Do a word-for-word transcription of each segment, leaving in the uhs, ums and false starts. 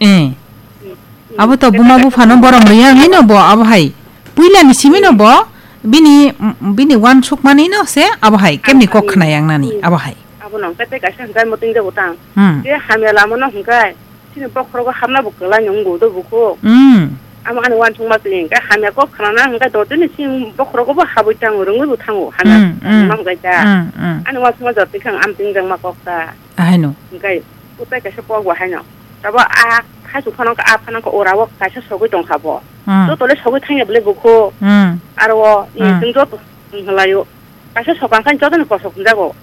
Eh. Abo to buma buphano borom rwya wngwi no bo abo hai. Puila ni simi no bo bini, bini uansukmani no se abo hai kemni kok khna yang nani abo hai. Abo no hwnkhe tei kaisa hwnkhe muting jago tang. Hmm. Je hamya lama no hwnkhe chini bokhorogo hapna bo kwlai no wngo do bukhuk. Hmm. Amo ani uansukma twi hwnkhe hamya kok khna na hwnkhe dotini chini bokhorogo bo habwi tango rwngwi bo thango hamya. Hmm, hmm. Hwnkhe ta. Hmm, hmm. Ani uansukma jotoi khe ang amting jangma kok ta. Ahai no. Hwnkhe utai kaisa kok bo hai no. Tabo a haichuk phano wngkha, a phano wngkha, ora o kaisa sogwi tongkha bo. Hmm. Joto le sogwi thangya bwle bukhu. Hmm. Aro o, Hmm. chwng joto, hmm, hwlaio. Kaisa sokang khan joto ni kosok hwnjago.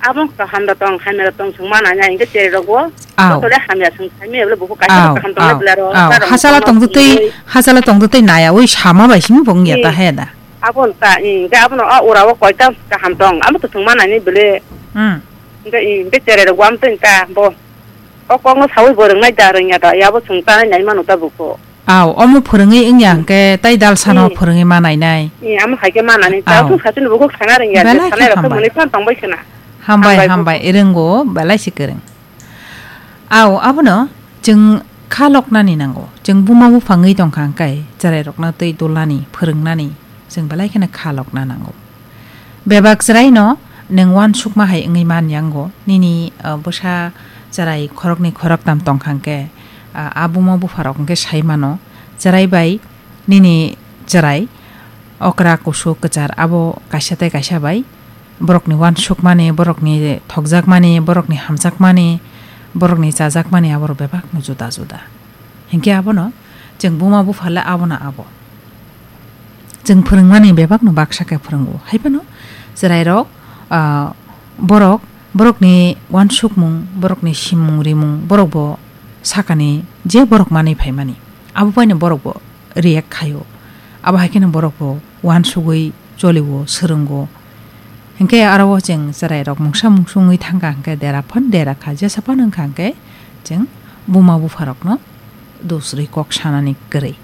Abo wngkha kaham da tong, hamya da tong chwng ma nanya, hwnkhe cherwi rok bo. Aw. Joto le hamya chwng hamya bwle bukhu kaisa Aw, kaham tong le aw, bwle aro. Aw. Hachala tong twi, hachala tong twi naya, oi sama bai simi bo wngya ta Hmm. he da. Abo wngkha, hmm, hwnkhe abo no o ora o koita kaham tong, abo to chwng ma nani bwle. Hmm. Hwnkhe, hmm, hwnkhe cherwi rok bo am twi ta bo. O kokno sawi bo rwngnai da, rwngya da, yabo chwng tanai nai mano ta buko. Aw, omo phwrwngwi wngya Hmm. hwnkhe tai dalsano Hmm. phwrwngwi ma nainai. Hmm, amo hai khe manani, Aw. ta thung sachini bukhuk sana rwngya, Belai khe sanai rok khe hambai. Mwnwi phan tongbai khwna. Hambai, Hambai hambai, bukhuk. Rwngo, belai se kwrwng. Aw, abono chwng kha loknani nango. Chwng buma bupha wngwi tongkha hwnkhe, chwrairokno twi dulnani, phwrwngnani. Chwng belai kheno kha lokna nango. Bebak chwraino nwng uansukma hai wngwi man yango. Nini, uh, bwsa chwrai khoroknwi khoroktam tongkha hwnkhe, uh, a buma bupharok hwnkhe sai mano. Chwrai bai nini chwrai okra kusu kwchar abo kaisa tei kaisa bai borokni uansukmani, borokni thokjakmani, borokni hamjakmani, borokni chajakmani aborok bebakno juda juda. Hinkhe abono chwng buma bupha le abono abo. Chwng phwrwngmani bebakno baksa khe phwrwngo. Haiphano chwrairok, ah, borok, borokni uansukmung, borokni simung rimung, borok bo sakani je borok manwi phaimani. Abo baino borok bo react khaio. Abo hai kheno borok bo uansugwi cholio, swrwngo. Hinkhe aro o chwng chwrairok mungsa mungsu wngwi thangkha hinkhe dera phan dera kha, jesa phan wngkha hinkhe chwng buma bupharokno dusrwi kok sanani kwrwi.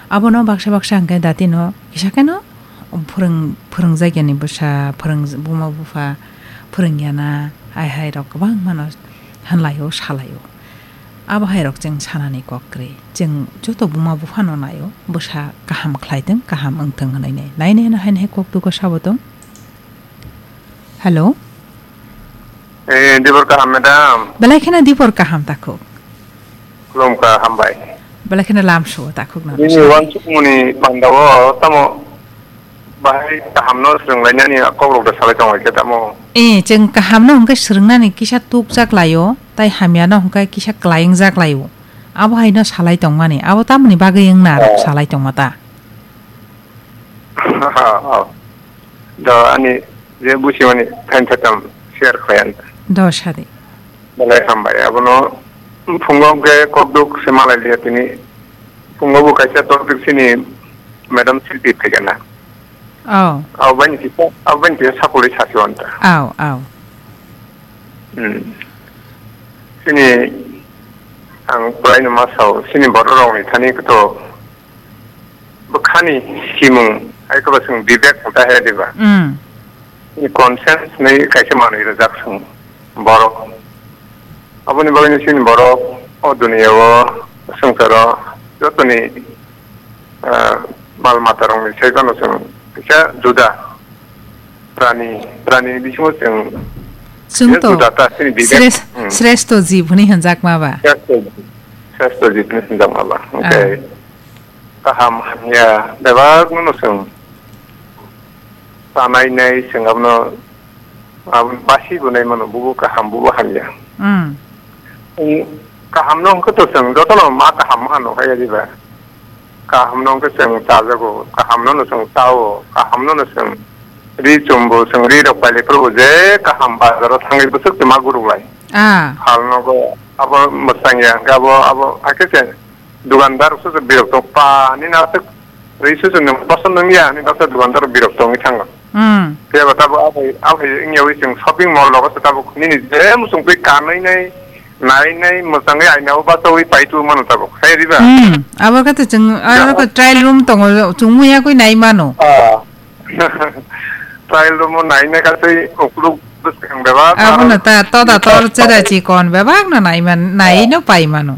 Abono baksa baksa hinkhe datino kisa kheno phwrwng-, phwrwngjakyani bwsa, phwrwng-, buma bupha phwrwngyana, hai hai rok kwbangmano hanlaio, salaio. Abo hai rok chwng sanani kok kwrwi. Chwng joto buma buphano naio, bwsa kaham khlaitwng, kaham wngtwng hwnwi nai. Nainai no haino hai kok dugo sabo tong. Hello. Eh, dibor kaham, madam. Belai kheno dibor kaham takhuk. Khulumkha, hambai. Belai kheno lamsuo takhuk no. Nini uansukmani pandao tamo bahai kahamno swrwnglainani kokrok da salai tongo khe tamo. Eh, chwng kahamno hwnkhe swrwngnani kisa tukjak laio, tai hamyano hwnkhe kisa klaingjak laio. Abo haino salai tongmani, abo tamoni bagwi wngna rok Oh. salai tongma ta? Oh. Do ani je busimani thain thatam share khlai ang. Do sadi. Belai hambai. Abono phungo hwnkhe kokduk se malai liya tini. Phungo bo kaisa topic sini madam Silpi phaikana. Oh. Abo bani kisa, abo bani kisa sakulai sasi wanta. Aw, aw. Hmm. Sini ang prai no ma sao, sini borok rok ni thani kto bwkhani simung, ai khe ba chwng bibek hwn ta he diba? Mm. Ni conscience ni kaisa manwi rwjak chwng borok. Aboni bagwi ni chini borok o duniya o swngcharo jotoni, ah, mal mata rok ni sai phano chwng kisa juda prani, prani ni bisingo chwng Chwng kisa to juda ta chini bibek. Sres-, Hmm. sreshto jib hwnwi hwnjakma ba? Sreshto, sreshto jib hwnwi hwnjakma ba. Ah. Hwnkhe kaham hamya bebak no chwng tanai nai chwng abono, abono basi bo nai mano, bubo kaham, bubo hamya. Mm. Chwng kaham no hwnkhe to chwng jotono ma kaham ma hano hai diba. Kaham no hwnkhe chwng chajago, kaham no no chwng chao, kaham no no chwng ri chumbo, chwng ri rok pailai phuru je kaham bazar o thangwi bwswk se ma guruk lai. Ah. Hal nogo abo mwsang ya hwnkhe abo, abo hakhe se Dukandar rok se birok tong pa, nini aswk rwi se chwng boson nung ya, nini aswk dukandar rok birok tongwi thango. Hmm. Phiya ba tabuk aphai, aphai wngya wi chwng shopping mall rogo se tabuk nini je muchung twi kanwi nai, nai nai, mwchangwi aina o bachawi pai tu mano tabuk. Hai riba? Hmm. Abo khe to chwng, aro khe trial room tongo, chwng muya kwi nai mano. Ah. Trial room o nai nai kha tei ukuluk bwskang bebak. Abono ta, toda tor chera chikon bebak no nai man, nai no pai mano.